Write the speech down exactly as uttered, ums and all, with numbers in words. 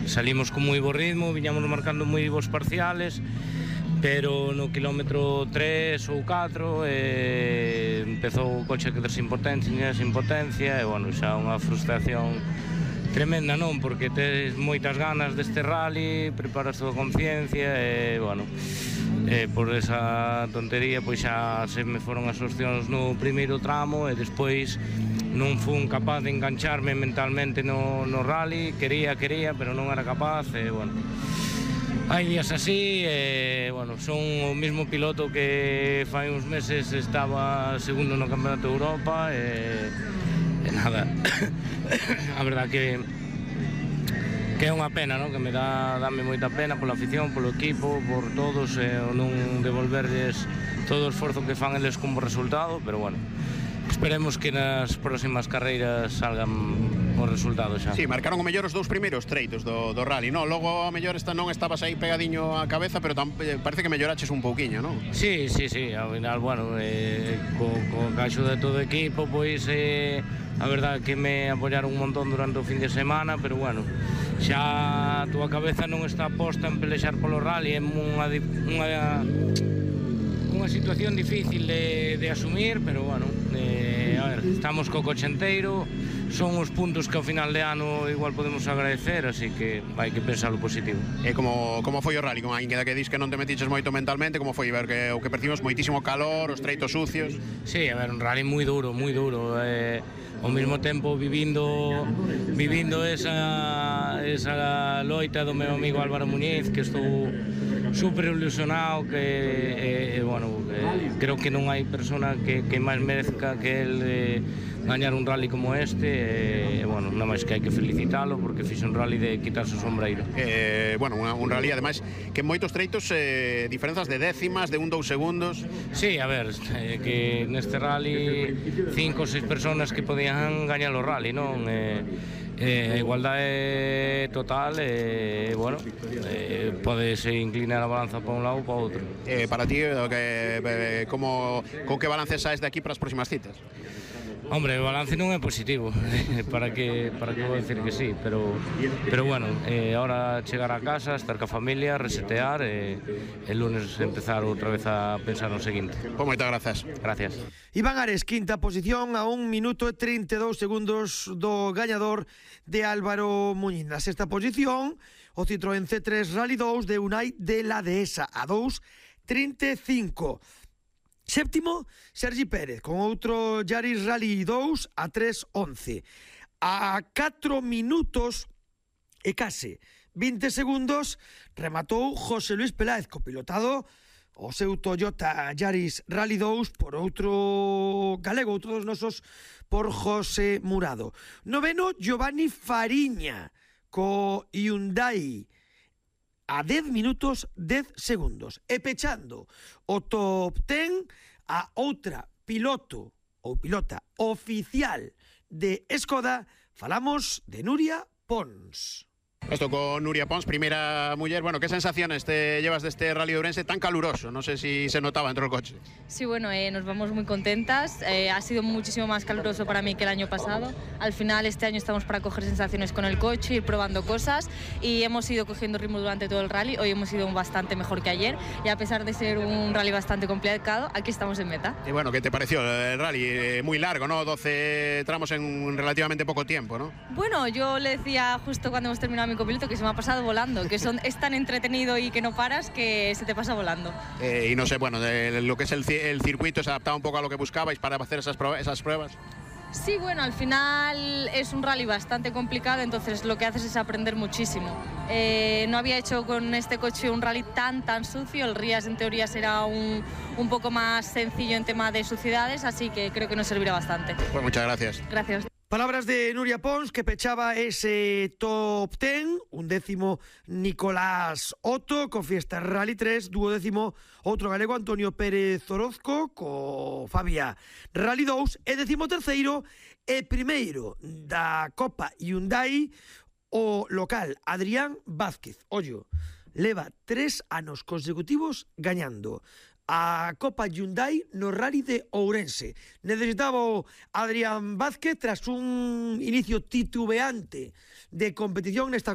salimos con moi bo ritmo, viñamos marcando moi bons parciales, pero no quilómetro tres ou catro eh, empezou o coche a quedar sin potencia, sin potencia, e, bueno, xa unha frustración tremenda, non? Porque tes moitas ganas deste rally, preparas toda a conciencia, e, bueno, eh, por esa tontería, pois xa se me foron as opcións no primeiro tramo, e despois non fun capaz de engancharme mentalmente no, no rally, quería, quería, pero non era capaz, e, bueno, hai días así, e, bueno, son o mesmo piloto que fai uns meses estaba segundo no Campeonato de Europa, e, e nada, a verdad que que é unha pena, non? Que me dá dame moita pena pola afición, polo equipo, por todos, e non devolverles todo o esforzo que fan eles como resultado, pero, bueno, esperemos que nas próximas carreiras salgan os resultados xa. Sí, marcaron o mellor os dous primeiros treitos do, do rally, non? Logo, a mellor esta non estabas aí pegadiño á cabeza, pero tam, parece que melloraches un pouquiño, non? Sí, sí, sí, ao final, bueno, eh, co, co caixo de todo o equipo, pois, eh, a verdade que me apoyaron un montón durante o fin de semana, pero, bueno, xa a túa cabeza non está posta en pelexar polo rally, é unha, unha, unha situación difícil de, de asumir, pero, bueno, eh, a ver, estamos co coche enteiro, son os puntos que ao final de ano igual podemos agradecer, así que hai que pensar o positivo. E como, como foi o rally? Con a inqueda que dis que non te metiches moito mentalmente, como foi ver que o que percibimos moitísimo calor, os treitos sucios? Sí, a ver, un rally moi duro, moi duro, eh, ao mesmo tempo vivindo vivindo esa, esa loita do meu amigo Álvaro Muñiz, que estou super ilusionado, que, eh, eh, bueno, eh, creo que non hai persona que, que máis merezca que el eh, gañar un rally como este, e, eh, bueno, nada máis que hai que felicitalo, porque fixe un rally de quitarse o sombreiro. Eh, bueno, un, un rally, ademais, que en moitos treitos eh, diferenzas de décimas, de un, dous segundos. Sí, a ver, eh, que neste rally cinco ou seis personas que podían gañar o rally, non? Eh, eh, a igualdade total, e, eh, bueno, eh, podese inclinar a balanza para un lado ou para outro. Eh, para ti, que, eh, como, con que balance saes de aquí para as próximas citas? Hombre, o balance non é positivo, para que para que vou dicir que sí, pero pero bueno, eh, ahora chegar a casa, estar ca familia, resetear, e eh, el lunes empezar outra vez a pensar no seguinte. Pois moitas grazas. Gracias. Iván Ares, quinta posición a un minuto e trinta e dous segundos do gañador de Álvaro Muñiz. Na sexta posición, o Citroën C tres Rally dous de Unai de la Dehesa a dos trinta e cinco. Séptimo, Sergi Pérez, con outro Yaris Rally dous a tres once. A catro minutos e case vinte segundos rematou José Luis Peláez, copilotado o seu Toyota Yaris Rally dous por outro galego, outro dos nosos, por José Murado. Noveno, Giovanni Fariña, co Hyundai a dez minutos dez segundos. E pechando o top dez a outra piloto ou pilota oficial de Skoda, falamos de Nuria Pons. Esto con Nuria Pons, primeira muller. Bueno, ¿qué sensaciones te llevas de este Rally de Ourense tan caluroso? No sé si se notaba dentro del coche. Sí, bueno, eh, nos vamos muy contentas. Eh, ha sido muchísimo más caluroso para mí que el año pasado. Al final, este año estamos para coger sensaciones con el coche, ir probando cosas, y hemos ido cogiendo ritmo durante todo el rally. Hoy hemos ido bastante mejor que ayer, y a pesar de ser un rally bastante complicado, aquí estamos en meta. Y bueno, ¿qué te pareció el rally? Eh, muy largo, ¿no? doce tramos en relativamente poco tiempo, ¿no? Bueno, yo le decía justo cuando hemos terminado mi copiloto que se me ha pasado volando, que son, es tan entretenido y que no paras que se te pasa volando. Eh, y no sé, bueno, de lo que es el, el circuito, ¿se adaptaba un poco a lo que buscabais para hacer esas, esas pruebas? Sí, bueno, al final es un rally bastante complicado, entonces lo que haces es aprender muchísimo. Eh, no había hecho con este coche un rally tan, tan sucio. El Rías en teoría será un, un poco más sencillo en tema de suciedades, así que creo que nos servirá bastante. Pues muchas gracias. Gracias. Palabras de Nuria Pons, que pechaba ese top dez, un décimo Nicolás Otto, co Fiesta Rally tres, duodécimo outro galego Antonio Pérez Orozco, co Fabia Rally dous, e décimo terceiro e primeiro da Copa Hyundai, o local Adrián Vázquez. Ollo, leva tres anos consecutivos gañando a Copa Hyundai no Rally de Ourense. Necesitaba o Adrián Vázquez tras un inicio titubeante de competición nesta